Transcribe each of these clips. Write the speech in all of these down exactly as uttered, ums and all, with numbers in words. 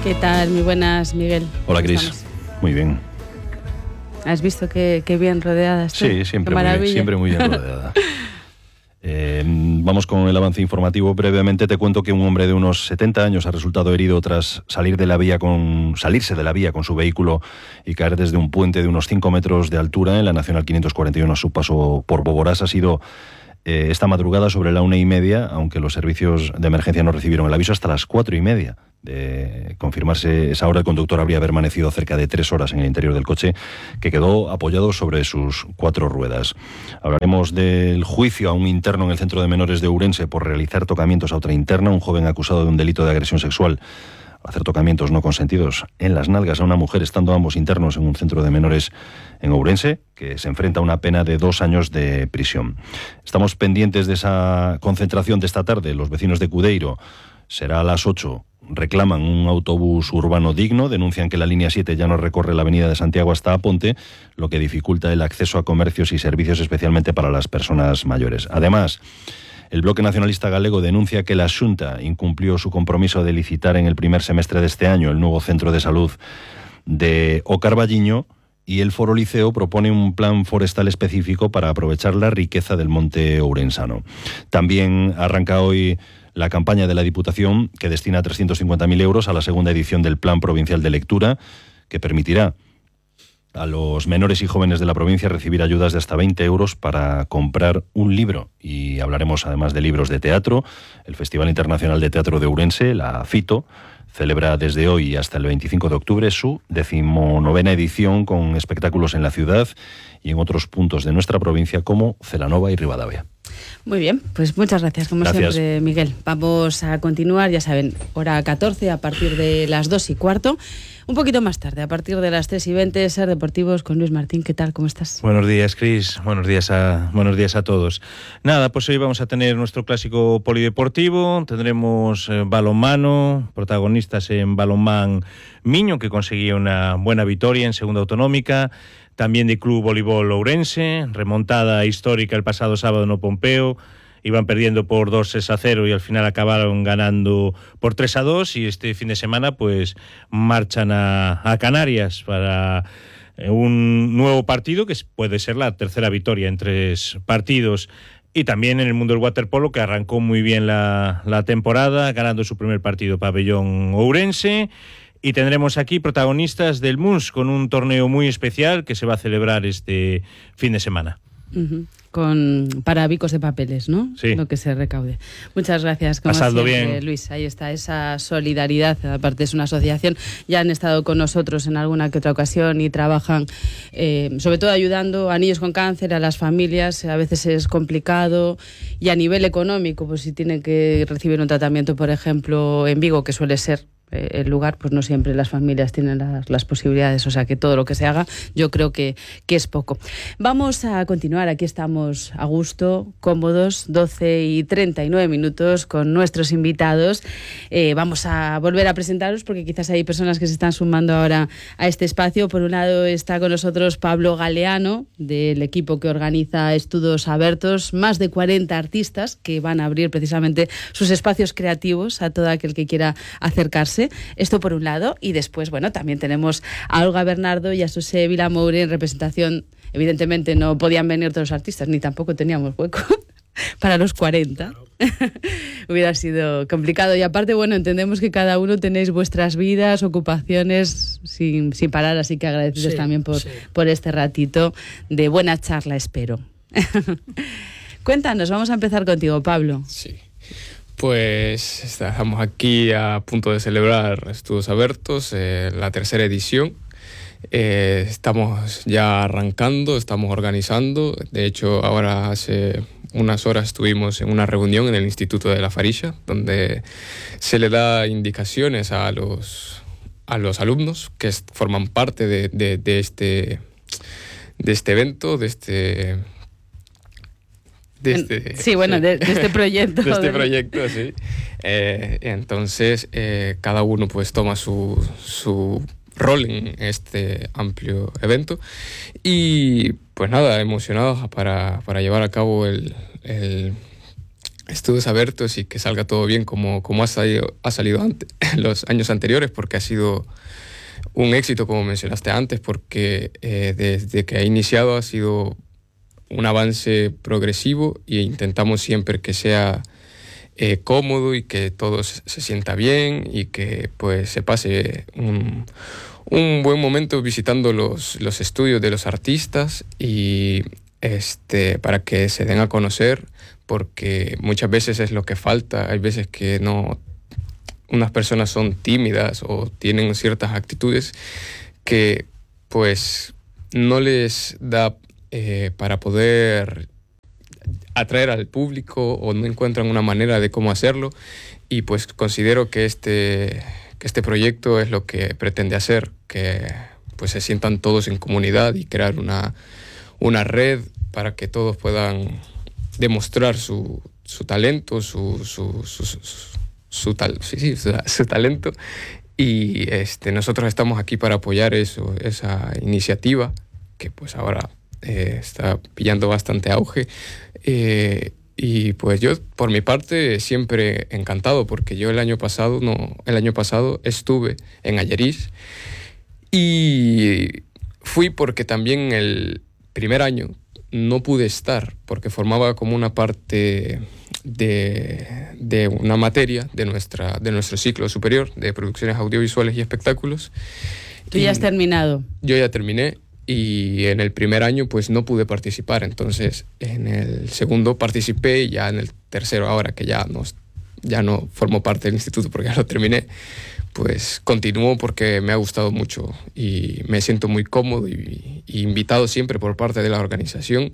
¿Qué tal? Muy buenas, Miguel. Hola, Cris. Muy bien. ¿Has visto qué, qué bien rodeada estoy? Sí, siempre, muy bien, siempre muy bien rodeada. Eh, vamos con el avance informativo. Brevemente te cuento que un hombre de unos setenta años ha resultado herido tras salir de la vía con, salirse de la vía con su vehículo y caer desde un puente de unos cinco metros de altura en la Nacional quinientos cuarenta y uno a su paso por Boborás. Ha sido eh, esta madrugada sobre la una y media, aunque los servicios de emergencia no recibieron el aviso hasta las cuatro y media. De confirmarse esa hora, el conductor habría permanecido cerca de tres horas en el interior del coche, que quedó apoyado sobre sus cuatro ruedas. Hablaremos del juicio a un interno en el Centro de Menores de Ourense por realizar tocamientos a otra interna, un joven acusado de un delito de agresión sexual, hacer tocamientos no consentidos en las nalgas a una mujer, estando ambos internos en un centro de menores en Ourense, que se enfrenta a una pena de dos años de prisión. Estamos pendientes de esa concentración de esta tarde. Los vecinos de Cudeiro, será a las ocho. Reclaman un autobús urbano digno, denuncian que la línea siete ya no recorre la avenida de Santiago hasta Aponte, lo que dificulta el acceso a comercios y servicios, especialmente para las personas mayores. Además, el Bloque Nacionalista Galego denuncia que la Xunta incumplió su compromiso de licitar en el primer semestre de este año el nuevo centro de salud de O Carballiño, y el Foro Liceo propone un plan forestal específico para aprovechar la riqueza del monte ourensano. También arranca hoy la campaña de la Diputación, que destina trescientos cincuenta mil euros a la segunda edición del Plan Provincial de Lectura, que permitirá a los menores y jóvenes de la provincia recibir ayudas de hasta veinte euros para comprar un libro. Y hablaremos además de libros de teatro. El Festival Internacional de Teatro de Ourense, la FITO, celebra desde hoy hasta el veinticinco de octubre su decimonovena edición, con espectáculos en la ciudad y en otros puntos de nuestra provincia como Celanova y Ribadavia. Muy bien, pues muchas gracias, como gracias. siempre, Miguel. Vamos a continuar, ya saben, hora catorce a partir de las dos y cuarto. Un poquito más tarde, a partir de las tres y veinte, Ser Deportivos con Luis Martín. ¿Qué tal? ¿Cómo estás? Buenos días, Cris. Buenos días a, buenos días a todos. Nada, pues hoy vamos a tener nuestro clásico polideportivo. Tendremos eh, balonmano, protagonistas en balonmán Miño, que conseguía una buena victoria en segunda autonómica. También de Club Voleibol Ourense, remontada histórica el pasado sábado en O Pompeo. Iban perdiendo por dos a cero y al final acabaron ganando por tres a dos, y este fin de semana pues marchan a, a Canarias para un nuevo partido que puede ser la tercera victoria en tres partidos. Y también en el mundo del waterpolo, que arrancó muy bien la, la temporada, ganando su primer partido pabellón ourense. Y tendremos aquí protagonistas del M U S con un torneo muy especial que se va a celebrar este fin de semana. Uh-huh. Con para bicos de papeles, ¿no? Sí. Lo que se recaude. Muchas gracias, como Pasadlo siempre, bien, Luis. Ahí está esa solidaridad. Aparte es una asociación. Ya han estado con nosotros en alguna que otra ocasión y trabajan, eh, sobre todo ayudando a niños con cáncer, a las familias. A veces es complicado, y a nivel económico, pues si tienen que recibir un tratamiento, por ejemplo, en Vigo, que suele ser el lugar, pues no siempre las familias tienen las, las posibilidades, o sea que todo lo que se haga yo creo que, que es poco. Vamos a continuar, aquí estamos a gusto, cómodos, doce y treinta y nueve minutos con nuestros invitados. Eh, vamos a volver a presentaros porque quizás hay personas que se están sumando ahora a este espacio. Por un lado está con nosotros Pablo Galeano, del equipo que organiza Estudos Abertos, más de cuarenta artistas que van a abrir precisamente sus espacios creativos a todo aquel que quiera acercarse. Esto por un lado, y después, bueno, también tenemos a Olga Bernardo y a José Vilamoure en representación. Evidentemente no podían venir todos los artistas, ni tampoco teníamos hueco para los cuarenta. Hubiera sido complicado, y aparte, bueno, entendemos que cada uno tenéis vuestras vidas, ocupaciones sin, sin parar, así que agradecidos sí, también por, sí. por este ratito de buena charla, espero. Cuéntanos, vamos a empezar contigo, Pablo. Sí. Pues estamos aquí a punto de celebrar Estudos Abertos, eh, la tercera edición. Eh, estamos ya arrancando, estamos organizando. De hecho, ahora hace unas horas estuvimos en una reunión en el Instituto de la Farixa, donde se le da indicaciones a los, a los alumnos que forman parte de, de, de, este, de este evento, de este... De este, sí, bueno, sí. De, de este proyecto. De este proyecto, sí. Eh, entonces, eh, cada uno pues toma su, su rol en este amplio evento. Y pues nada, emocionados para, para llevar a cabo el, el, estudios abiertos y que salga todo bien como, como ha salido, ha salido antes, los años anteriores, porque ha sido un éxito, como mencionaste antes, porque eh, desde que ha iniciado ha sido un avance progresivo e intentamos siempre que sea eh, cómodo y que todo se sienta bien y que pues se pase un, un buen momento visitando los, los estudios de los artistas y este, para que se den a conocer, porque muchas veces es lo que falta. Hay veces que no, unas personas son tímidas o tienen ciertas actitudes que pues no les da eh, para poder atraer al público o no encuentran una manera de cómo hacerlo, y pues considero que este, que este proyecto es lo que pretende hacer, que pues se sientan todos en comunidad y crear una, una red para que todos puedan demostrar su, su talento, su, su, su, su, su, tal, sí, sí, su, su talento, y este, nosotros estamos aquí para apoyar eso, esa iniciativa que pues ahora eh, está pillando bastante auge. Eh, y pues yo, por mi parte, siempre encantado, porque yo el año pasado, no, el año pasado estuve en Allariz y fui porque también el primer año no pude estar, porque formaba como una parte de, de una materia de, nuestra, de nuestro ciclo superior de producciones audiovisuales y espectáculos. ¿Tú ya has terminado? Yo ya terminé. Y en el primer año pues no pude participar, entonces en el segundo participé y ya en el tercero, ahora que ya no, ya no formo parte del instituto porque ya lo terminé, pues continúo porque me ha gustado mucho y me siento muy cómodo y, y invitado siempre por parte de la organización.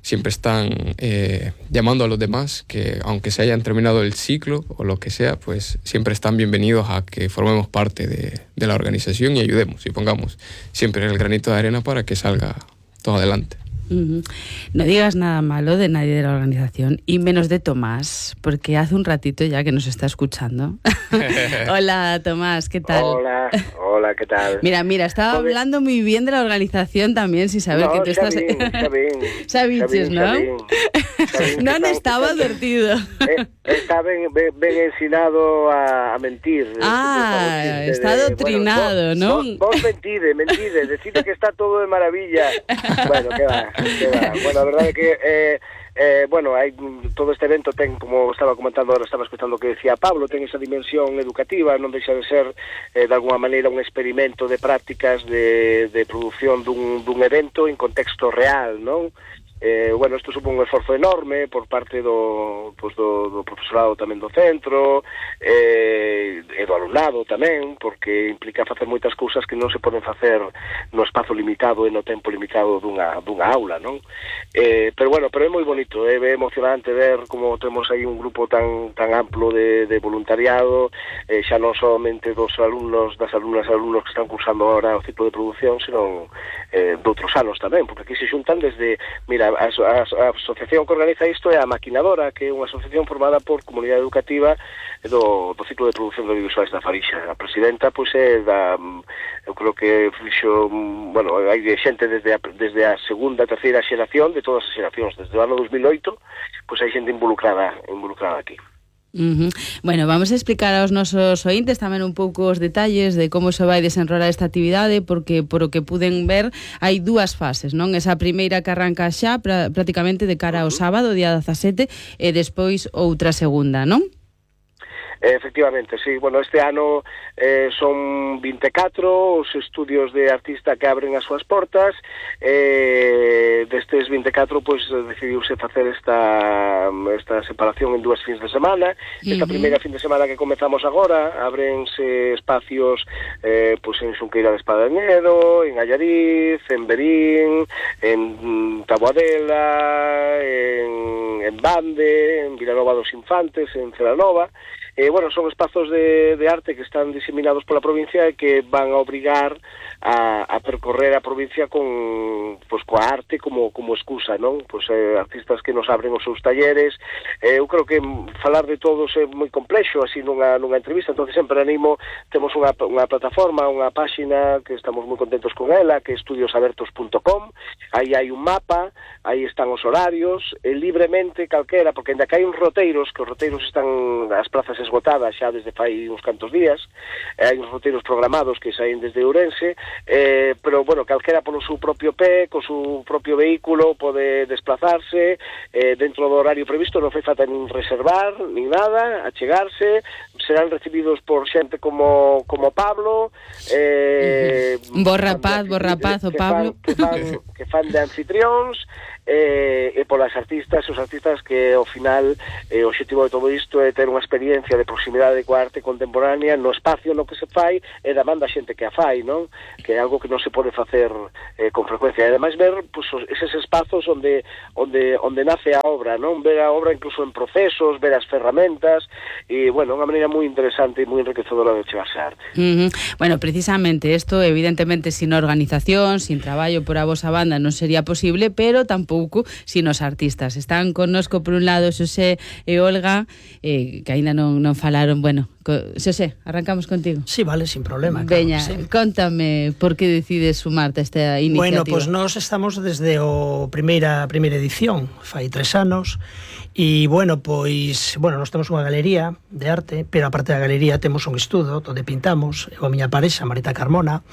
Siempre están eh, llamando a los demás que aunque se hayan terminado el ciclo o lo que sea, pues siempre están bienvenidos a que formemos parte de, de la organización y ayudemos y pongamos siempre el granito de arena para que salga todo adelante. Uh-huh. No digas nada malo de nadie de la organización y menos de Tomás, porque hace un ratito ya que nos está escuchando. Hola Tomás, ¿qué tal? Hola, hola, ¿qué tal? Mira, mira, estaba Joder. hablando muy bien de la organización también, sin saber no, que tú estás... Sabín, Sabín, Sabiches, ¿no? Sabín, Sabín, no han están, estado están, advertido. Eh, está ben, ben, ben ensinado a, a mentir. Ah, de, de, está adoctrinado, bueno, ¿no? Vos, vos mentide, mentide, decide que está todo de maravilla. Bueno, que va, que va. Bueno, a verdade é que eh, eh, bueno, hai todo este evento ten, como estaba comentando ahora, estaba escuchando o que decía Pablo, ten esa dimensión educativa, non deixa de ser eh, de alguna maneira un experimento de prácticas de, de produción dun, dun evento en contexto real, non? Eh, bueno, isto supón un esforzo enorme por parte do, pues do, do profesorado tamén do centro eh, e do alumnado tamén, porque implica facer moitas cousas que non se poden facer no espazo limitado e no tempo limitado dunha, dunha aula, non? Eh, pero bueno, pero é moi bonito, é eh, emocionante ver como temos aí un grupo tan tan amplo de, de voluntariado, eh, xa non somente dos alumnos, das alumnas e alumnos que están cursando ahora o ciclo de produción, senón eh, de outros anos tamén, porque aquí se xuntan desde, mira, A, a, a asociación que organiza isto é a Maquinadora, que é unha asociación formada por comunidade educativa do, do ciclo de produción de audiovisuais da Farixa. A presidenta, pois, é da, eu creo que fixo, bueno, hai xente desde a, desde a segunda, terceira xeración, de todas as xeracións, desde o ano dos mil oito, pois hai xente involucrada, involucrada aquí. Uh-huh. Bueno, vamos a explicar aos nosos ointes tamén un pouco os detalles de como se vai desenrolar esta actividade, porque por o que puden ver hai dúas fases, non? Esa primeira que arranca xa pra, prácticamente de cara ao sábado, día dezasete, e despois outra segunda, non? Eh, efectivamente, sí. Bueno, este ano eh, son vinte e catro os estudios de artista que abren as súas portas. Eh, destes vinte e catro, pois, decidiuse facer esta esta separación en dúas fins de semana. Esta uh-huh. primeira fin de semana que comezamos agora, abrense espacios eh, pois en Xunqueira de Espadañedo, en Allariz, en Verín, en Taboadela, en, en Bande, en Vilanova dos Infantes, en Celanova. eh, bueno, son espazos de, de arte que están diseminados pola provincia e que van a obrigar a, a percorrer a provincia con, pues, coa arte como, como excusa, non? Pues, eh, artistas que nos abren os seus talleres. Eh, eu creo que falar de todos é moi complexo así nunha, nunha entrevista, entonces sempre animo, temos unha, unha plataforma, unha páxina que estamos moi contentos con ela, que é estudios abertos punto com, aí hai un mapa, aí están os horarios, e libremente calquera, porque ainda que hai uns roteiros, que os roteiros están as plazas esgotadas xa desde fai uns cantos días, hai uns roteiros programados que saen desde Ourense, eh, pero, bueno, calquera polo seu propio pé, co seu propio vehículo, pode desplazarse eh, dentro do horario previsto, non fai falta nin reservar, nin nada, achegarse, serán recibidos por xente como, como Pablo, eh, uh-huh. Bo rapaz, bo rapaz, o Pablo, que fan, que fan, que fan de anfitrións, eh, e polas artistas, os artistas que ao final eh, o objetivo de todo isto é ter unha experiencia de proximidade coa arte contemporánea no espacio no que se fai e da banda xente que a fai, non? Que é algo que non se pode facer eh, con frecuencia, e ademais ver pues, eses espazos onde, onde, onde nace a obra, non? Ver a obra incluso en procesos, ver as ferramentas, e, bueno, unha maneira moi interesante e moi enriquecedora de chegarse a arte. Uh-huh. Bueno, precisamente isto, evidentemente, sin organización, sin traballo por a vosa banda non sería posible, pero tampouco sin os artistas. Están connosco por un lado Xosé e Olga, eh, que aínda non, non falaron. Bueno, co... Xosé, arrancamos contigo. Sí, vale, sin problema. Veña, claro, sí. Contame por que decides sumarte a esta iniciativa. Bueno, pois pues nós estamos desde o primeira primeira edición, fai tres anos, e, bueno, pois, bueno, nós temos unha galería de arte, pero aparte da galería temos un estudo onde pintamos, eu a miña parexa, Marita Carmona,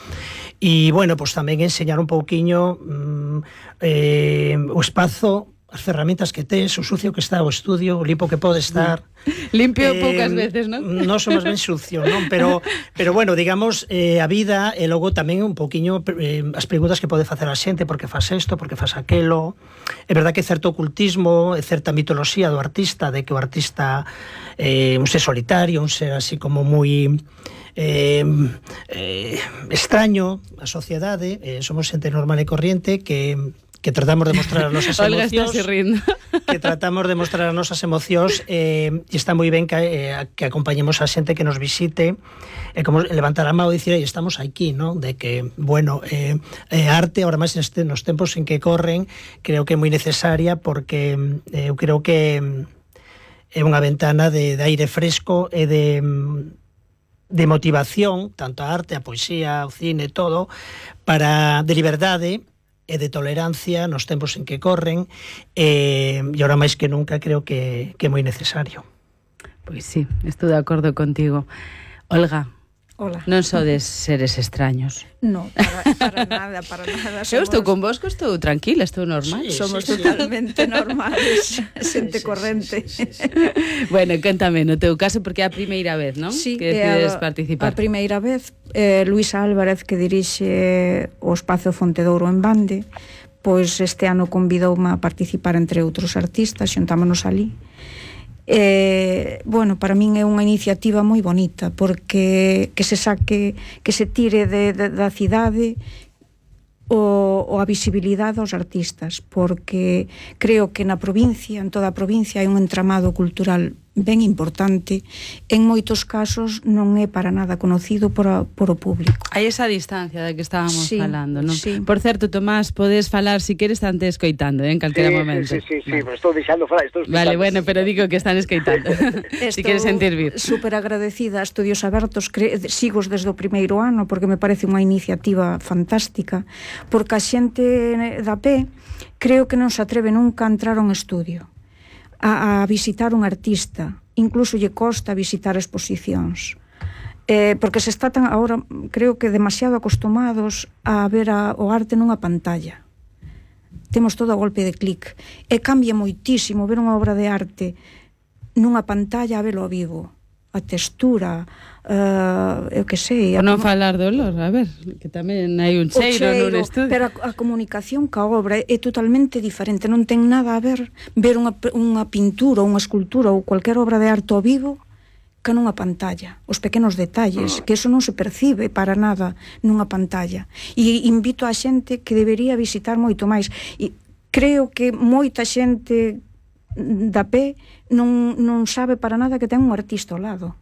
e, bueno, pois tamén enseñar un pouquiño mm, eh, o espazo, as ferramentas que tes, o sucio que está o estudio, o limpo que pode estar. Limpio eh, poucas veces, non? Non somos ben sucio, non? Pero, pero bueno, digamos, eh, a vida e logo tamén un pouquiño eh, as preguntas que pode facer a xente, por que faz isto, por que faz aquelo. É verdad que certo ocultismo, e certa mitoloxía do artista, de que o artista é eh, un ser solitario, un ser así como moi... Eh, eh, extraño a sociedade, eh, somos xente normal e corriente que, que tratamos de mostrar as nosas emocións, que tratamos de mostrar as nosas emocións, eh, e está moi ben que, eh, que acompañemos a xente que nos visite, e eh, como levantar a mão e dicir, estamos aquí, ¿no? De que, bueno, eh, eh, arte, ahora máis este, nos tempos en que corren, creo que é moi necesaria, porque eh, eu creo que é unha ventana de, de aire fresco e de de motivación, tanto a arte, a poesía, o cine, todo, para de liberdade e de tolerancia nos tempos en que corren, e, e ahora máis que nunca creo que, que é moi necesario. Pois sí, estou de acordo contigo. Olga, hola. Non sodes seres extraños. No, para, para nada, para nada. Somos... Eu estou con vos, estou tranquila, estou normal. Sí, somos sí, totalmente sí. normales, xente sí, sí, corrente. Sí, sí, sí, sí. Bueno, cántame, no teu caso, porque é a primeira vez, non? Sí, que decides a, participar. A primeira vez, eh, Luisa Álvarez, que dirixe o Espazo Fontedouro en Bande, pois este ano convidoume a participar entre outros artistas, xuntámonos ali. Eh, bueno, para min é unha iniciativa moi bonita, porque que se saque, que se tire de, de, da cidade o, o a visibilidade aos artistas, porque creo que na provincia, en toda a provincia, hai un entramado cultural ben importante, en moitos casos non é para nada conocido por, a, por o público. Hai esa distancia da que estábamos sí, falando, non? Sí. Por certo, Tomás, podes falar, si queres, están te escoitando, eh, en calquera sí, momento. Sí, sí, sí, vale. sí, pero estou deixando falar, estou Vale, bueno, pero digo que están escoitando. Si queres sentir vir. Super agradecida a Estudios Abertos, cre... sigo desde o primeiro ano, porque me parece unha iniciativa fantástica, porque a xente da pé creo que non se atreve nunca a entrar a un estudio, a, a visitar un artista, incluso lle costa visitar exposicións, eh, porque se está tan agora, creo que demasiado acostumados a ver a, o arte nunha pantalla. Temos todo a golpe de clic, e cambia moitísimo ver unha obra de arte nunha pantalla a velo a vivo, a textura, uh, eu que sei, Por non falar do olor, a ver, que tamén hai un cheiro, cheiro nun estudio. Pero a, a comunicación ca obra é totalmente diferente, non ten nada a ver ver unha, unha pintura, unha escultura ou cualquier obra de arte ao vivo que nunha pantalla, os pequenos detalles, que eso non se percibe para nada nunha pantalla. E invito a xente que debería visitar moito máis. E creo que moita xente da P non, non sabe para nada que ten un artista ao lado.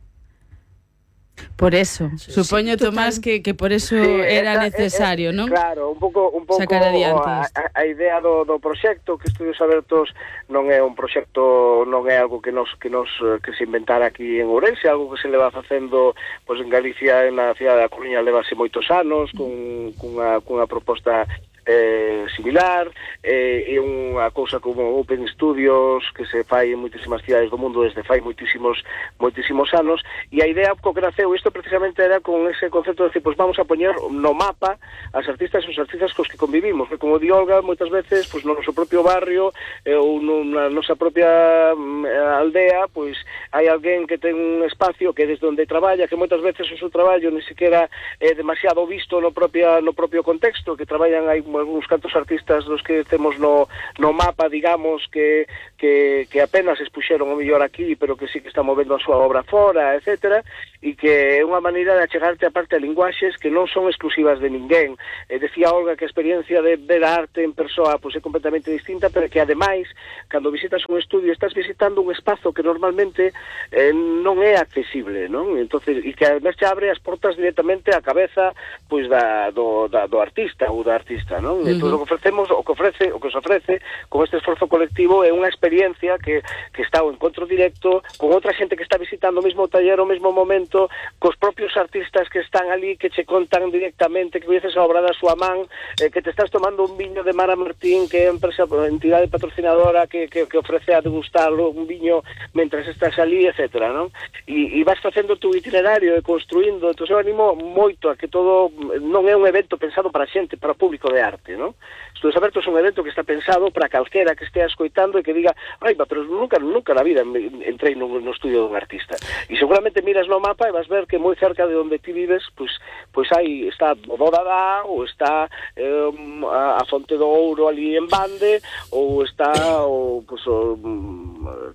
Por eso, sí, supoño, sí, Tomás, que, que por eso sí, era esa, necesario, non? Claro, un pouco, un pouco sacar adiante a, a idea do, do proxecto, que Estudios Abertos non é un proxecto, non é algo que nos que nos que se inventara aquí en Ourense, algo que se leva facendo pois en Galicia, en na cidade da Coruña, levase moitos anos con cunha cunha proposta eh, similar, eh, é unha cousa como Open Studios que se fai en moitísimas cidades do mundo desde fai moitísimos moitísimos anos, e a idea co que naceu isto precisamente era con ese concepto de decir, pois vamos a poñer no mapa as artistas e os artistas cos que convivimos, que como di Olga, moitas veces pois no noso propio barrio eh, ou na nosa propia eh, aldea, pois hai alguén que ten un espacio que desde onde traballa, que moitas veces o seu traballo ni siquiera é demasiado visto no propio no propio contexto, que traballan hai algúns cantos artistas dos que temos no, no mapa, digamos, que, que, que apenas expuxeron o mellor aquí, pero que sí que están movendo a súa obra fora, etcétera, e que é unha maneira de achegarte a parte a linguaxes que non son exclusivas de ninguén. Eh, decía Olga que a experiencia de ver a arte en persoa pois, é completamente distinta, pero que ademais, cando visitas un estudio, estás visitando un espazo que normalmente eh, non é accesible, non? Entonces, e que ademais te abre as portas directamente á cabeza pois da, do, da, do artista ou da artista, non? Uh-huh. Entón, o que ofrecemos, o que ofrece, o que os ofrece con este esforzo colectivo é unha experiencia que, que está o encontro directo con outra xente que está visitando o mesmo taller ao mesmo momento, cos propios artistas que están ali, que che contan directamente, que coñeces a obra da súa man, eh, que te estás tomando un viño de Mara Martín, que é a empresa, a entidade patrocinadora que, que, que ofrece a degustar un viño mentras estás ali, etcétera, non? E, e vas facendo tu itinerario e construindo, entón eu animo moito a que todo non é un evento pensado para xente, para o público de arte, non? Estudios Abertos é un evento que está pensado para calquera que estea escoitando e que diga, ai, pero nunca, nunca na vida entrei no, no estudio dun artista. E seguramente miras no mapa e vas ver que moi cerca de onde ti vives, pois, pois aí está o Bodadá, ou está eh, a, a Fonte do Ouro ali en Bande, ou está o, pois, o,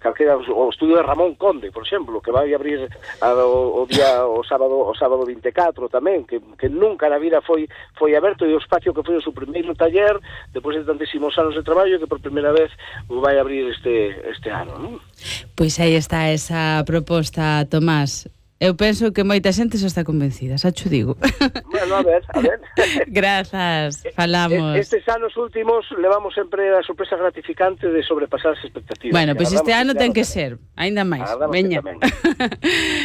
calquera, o estudio de Ramón Conde, por exemplo, que vai abrir a, o, o día o sábado o sábado vinte e catro tamén, que, que nunca na vida foi foi aberto, e o espacio que foi o seu primeiro taller depois de tantísimos anos de traballo, que por primeira vez o vai abrir este este ano, non? Pois aí está esa proposta, Tomás. Eu penso que moita xente xa está convencida, xa cho digo. Bueno, a ver, a ver. Grazas, falamos. Estes anos últimos levamos sempre a sorpresa gratificante de sobrepasar as expectativas. Bueno, pois pues este ano ten que ser, aínda máis. Veña.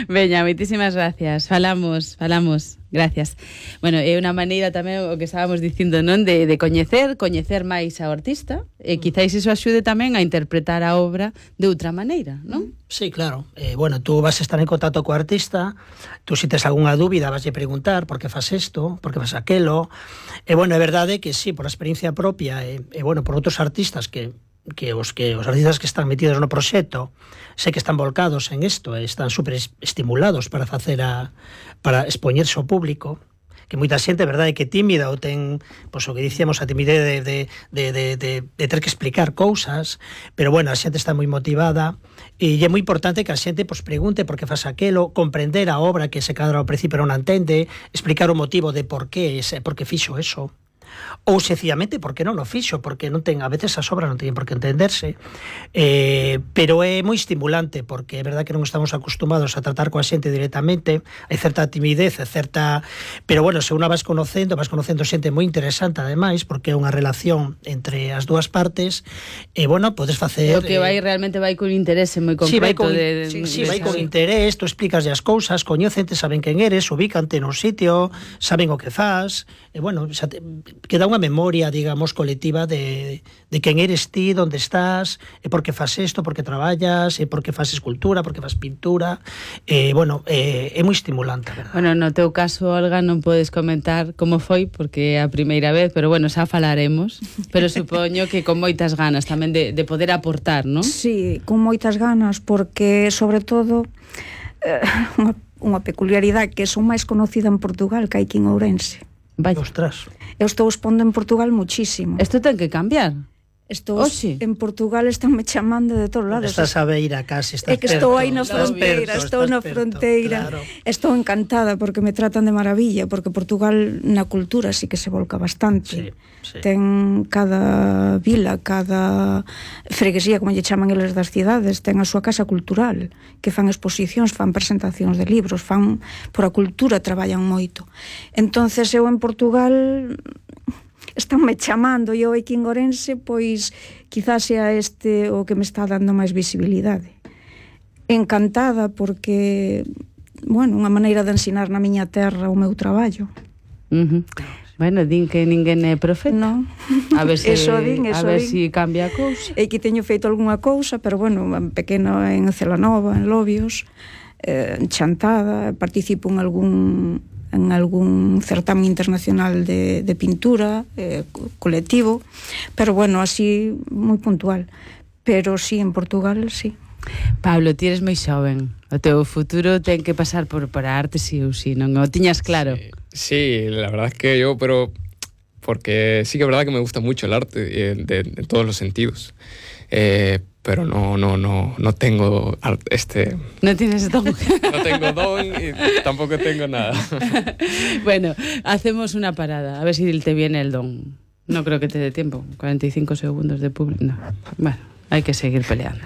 Veña, moitísimas gracias. Falamos, falamos. Gracias. Bueno, é unha maneira tamén o que estábamos dicindo, non, de, de coñecer, coñecer máis ao artista, e quizáis iso axude tamén a interpretar a obra de outra maneira, non? Sí, claro. Eh, bueno, tú vas a estar en contacto co artista, tú si tes algunha dúbida vas a preguntar por que faz isto, por que faz aquelo. E bueno, é verdade que sí, por a experiencia propia e, e bueno, por outros artistas que que os que os artistas que están metidos no proxecto sei que están volcados en isto e están super estimulados para facer a para expoñerse ao público, que moita xente, verdade, que tímida ou ten, pois o que dicíamos, a timidez de, de, de, de, de, de ter que explicar cousas, pero bueno, a xente está moi motivada e é moi importante que a xente pois pregunte por que faz aquelo, comprender a obra que se cadra ao principio non entende, explicar o motivo de por que, por que fixo eso. Ou sencillamente porque non o fixo, porque non ten, a veces as obras non teñen por que entenderse, eh, pero é moi estimulante, porque é verdad que non estamos acostumados a tratar coa xente directamente, hai certa timidez, certa, pero bueno, se unha vas conocendo, vas conocendo xente moi interesante ademais, porque é unha relación entre as dúas partes, e bueno, podes facer... O que vai, realmente vai con interese moi concreto. Sí, vai con, de, sí, de, sí, de vai con interés, tú explicas as cousas, coñecente, saben quen eres, ubícante nun sitio, saben o que faz, e bueno, xa te, queda unha memoria, digamos, colectiva de, de quen eres ti, onde estás, e por que faz isto, por que traballas, e por que faz escultura, por que faz pintura, e, bueno, é, é moi estimulante, verdad? Bueno, no teu caso, Olga, non podes comentar como foi, porque é a primeira vez, pero bueno, xa falaremos, pero supoño que con moitas ganas tamén de, de poder aportar, non? Sí, con moitas ganas, porque, sobre todo, eh, unha, unha peculiaridade que son máis conocida en Portugal que hai aquí en Ourense. Vai. Ostras. Eu estou expondo en Portugal muchísimo. Isto ten que cambiar. Estou Oh, sí. en Portugal, estánme chamando de todos lados. Estás a beira casi, estás É que estou aí na estás fronteira, perto, estou estás na perto, fronteira. claro. Estou encantada porque me tratan de maravilla, porque Portugal na cultura sí que se volca bastante. Sí, sí. Ten cada vila, cada freguesía, como lle chaman eles das cidades, ten a súa casa cultural, que fan exposicións, fan presentacións de libros, fan por a cultura, traballan moito. Entonces eu en Portugal estánme chamando, e eu aquí en Ourense, pois quizás sea este o que me está dando máis visibilidade. Encantada porque, bueno, unha maneira de ensinar na miña terra o meu traballo. Uh -huh. Bueno, din que ninguén é profeta. Non. A ver se Eso din, eso a ver din. si cambia a cousa. E que teño feito algunha cousa, pero bueno, en pequeno en Celanova, en Lobios, eh, en Chantada, participo en algún en algún certamen internacional de, de pintura eh, colectivo, pero bueno, así moi puntual. Pero sí, en Portugal, sí. Pablo, ti eres moi xoven. O teu futuro ten que pasar por, por a arte, sí ou sí, non o tiñas claro? Sí, sí, la verdad es que yo, pero porque sí que es verdad que me gusta mucho el arte eh, de, de todos los sentidos. Eh, pero no, no, no, no tengo art, este... No tienes don. No tengo don y tampoco tengo nada. Bueno, hacemos una parada, a ver si te viene el don. No creo que te dé tiempo, cuarenta y cinco segundos de público. No. Bueno, hay que seguir peleando.